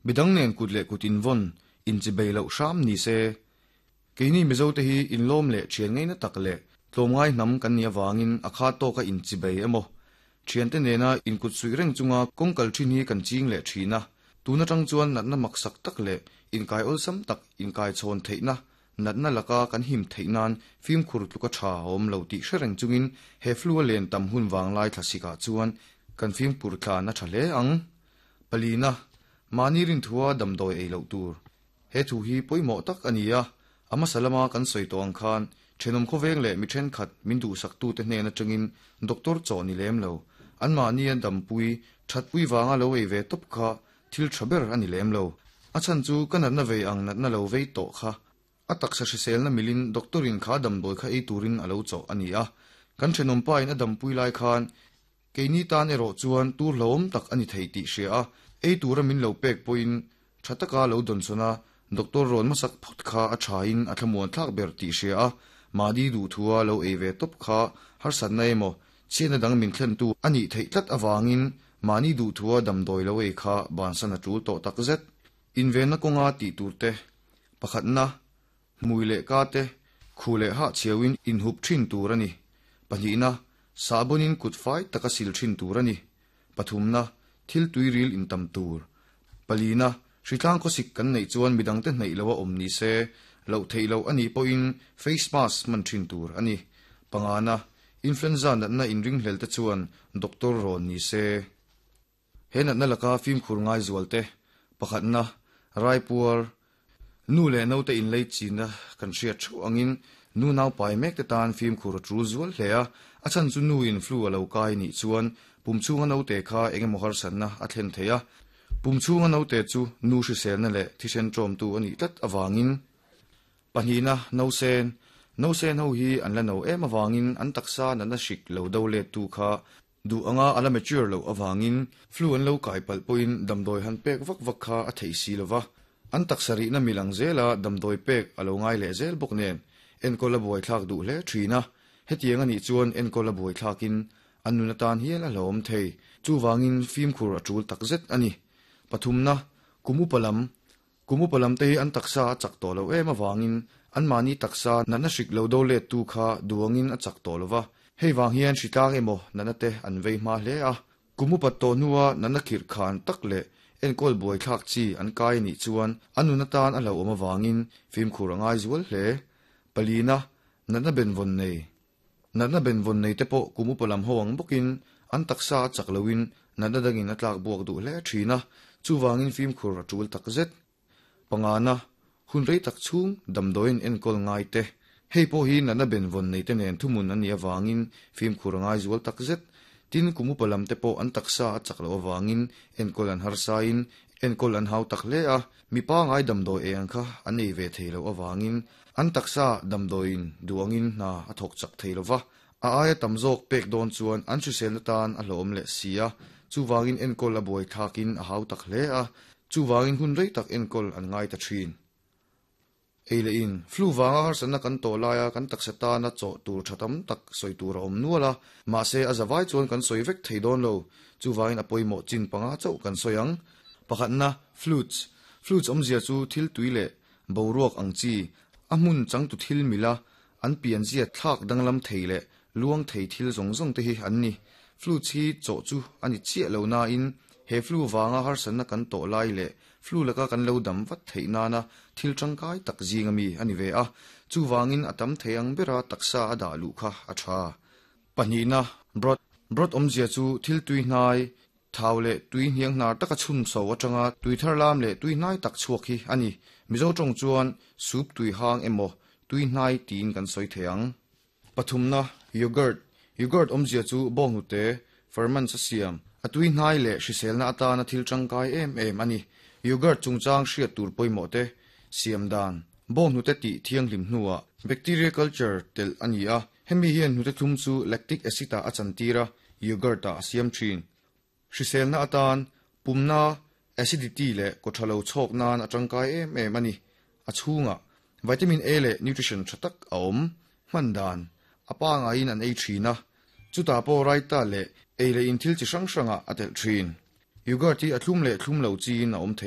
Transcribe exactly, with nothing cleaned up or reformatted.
Midang nen kut leh kut invawn, inchibei loh hram ni se. Keini Mizote hi inlawm leh thian ngaina tak leh tlawmngai hnam kan nih avangin a kha tawka inchibei emaw thiante nena inkut suih reng chunga kawng kal thin hi kan ching leh thin a. Tun atang chuan natna maksak tak leh inkai awlsam tak inkai chhawn theihna natna laka kan him theih nan fimkhur tluka tha a awm lo tih hre reng chungin he flu a len tam hun vanglai thlasikah chuan kan fimkhur tlan a tha hle ang. Palina, mahni rinthua damdawi ei loh tur. He thu hi pawimawh tak a ni a, a hmasa lama kan sawi tawh ang khan thenawm khawveng leh mi thenkhat min duhsaktute hnen atangin doctor chaw ni lem lo. Anmahni a dampui, thatpui vanga lo ei ve tawp kha thil tha ber a ni lem lo. A chhan chu ka natna vei ang natna lo vei tawh kha. A taksa hriselna milin doctorin kha damdawi kha ei turin a lo chaw a ni a. Kan thenawm pa in a dampui lai khan keini tan erawh chuan tur hlauhawm tak a ni thei tih hria a. Ei tura min lo pek pawhin tha taka lo dawn sawn a doctor rawn hmasak phawt kha a tha in a thlamuan thlak ber tih hria a. Mahni duh thua lo ei ve tawp kha harsatna emaw chhiatna dang min thlen tu a nih theih tlat avangin mahni duh thua damdawi lo ei kha bansan a tul tawh tak zet. Invenna kawnga tih tur te, pakhatna, hmui leh ka te, khu leh ha chhiawin inhup thin tur a ni. Pahnihna, sahbawn kut fai taka sil thin tur a ni. Pathumna, thil tuiril intam tur. Palina, hritlang khawsik kan neih chuan midangte hnaih lo a awm ni se, loh theih loh a nih pawhin face mask hman thin tur a ni. Pangana, influenza natna inringhlel te chuan doctor rawn ni se. He natna laka fimkhur ngai zual te, pakhatna, raipuar, nu leh naute inlei china kan hriat theuh angin nu nau pai mek te tan fimkhur a tul zual hle a. A chhan chu nu in flu a lo kai nih chuan pum chhunga naute kha engemaw harsatna a thlen thei a. Pum chhunga naute chu nu hriselna leh thisen tawmtu a nih tlat avangin. Pahnihna, nausen. Nausen ho hi an la no em avangin an taksa natna hrik lo do let tu kha duh anga a la mature loh avangin flu an lo kai palh pawhin damdawi han pek vak vak kha a theih si lova. An taksa rihna milang zela damdawi pek a lo ngai leh zel bawk nen enkawl a buai thlak duh hle thin a. Hetiang a nih chuan enkawl a buai thlakin an nun atan hial a hlauhawm thei. Chuvangin fimkhur a tul tak zet a ni. Pathumna, kum upa lam. Kum upa lam te hi an taksa a chak tawh lo em avangin an mahni taksa natna hrik lo do let tu kha duangin a chak tawh lova. Hei wang hian hritlang emaw natna te an vei hma hle a. Kum upat tawh hnua natna khirh khan tak leh enkawl buai thlak chi an kai nih chuan an nun atan a hlauhawm avangin fimkhur a ngai zual hle. Palina, natna benvawn nei. Natna benvawn nei te pawh kum upa lam ho ang bawkin an taksa a chak loin natna dangin a tlak buak duh hle thin a. Chuvangin fimkhur a tul tak zet. Pangana, hun rei tak chhung damdawiin enkawl ngai te. Hei pawh hi natna benvawn nei te nen thumun an nih avangin fimkhur a ngai zual tak zet. Tin kum upa lam te pawh an taksa a chak loh avangin enkawl an harsain enkawl an hau tak hle a. Mipa ngai damdawi ei ang kha an ei ve thei loh avangin an taksa damdawiin duangin hna a thawk chak thei lova. A aia tam zawk pek dawn chuan an hriselna tan a hlauhawm leh si a. Chuvangin enkawl a buai thlakin a hau tak hle a. Chuvangin hun rei tak enkawl an ngai ta thin. Ei leh in, flu wanga harsatna kan tawh laia kan taksa tana chaw tur tha tam tak sawi tur a awm nual a. Mahse a zawai chuan kan sawi vek thei dawn lo. Chuvangin a pawimawh chin panga chauh kan sawi ang. Pakhatna, fluids. Fluids awmzia chu thil tui leh boruak ang chi. A hmun changtu thil mila an pianzia thlak danglam thei leh luang thei thil zawng zawng te hi an ni. Fluids hi chaw chu ani chiah lo na in he flu wanga harsatna kan tawh lai leh flu laka kan lo dam vat theih nana thil tangkai tak zinga mi ani ve a. Chuwangin a tam thei ang bera taksa a dah lu kha a tha. Pahnihna, broth. Broth awmzia chu thil tui hnai, thau leh tui hniang hnar taka chhun so atanga tui thar lam leh tui hnai tak chhuak hi ani. Mizo tawng chuan soup tui hang emaw tui hnai tin kan sawi thei ang. Pathumna, yogurt. Yogurt awmzia chu bawnghnute ferment sa siam a tui hnai leh hriselna atana thil tangkai em em ani. Yogurt chungchang hriat tur pawimawh te siam dan bawnghnute tih thianghlim hnuah bacteria culture tel ani a. Hemi hian hnute thlum chu lactic acid a chantira yogurt a siam thin. Hriselna atan pumna acidity leh kawthalo chhawk nan a tangkai em em ani. A chhunga vitamin A leh nutrition tha tak a awm. Hman dan a pa ngaiin an ei thin a. Chutah pawh raita leh ei leh in thil chi hrang hranga a telh thin. Yogurt hi a thlum leh thlum lo chiin a awm thei.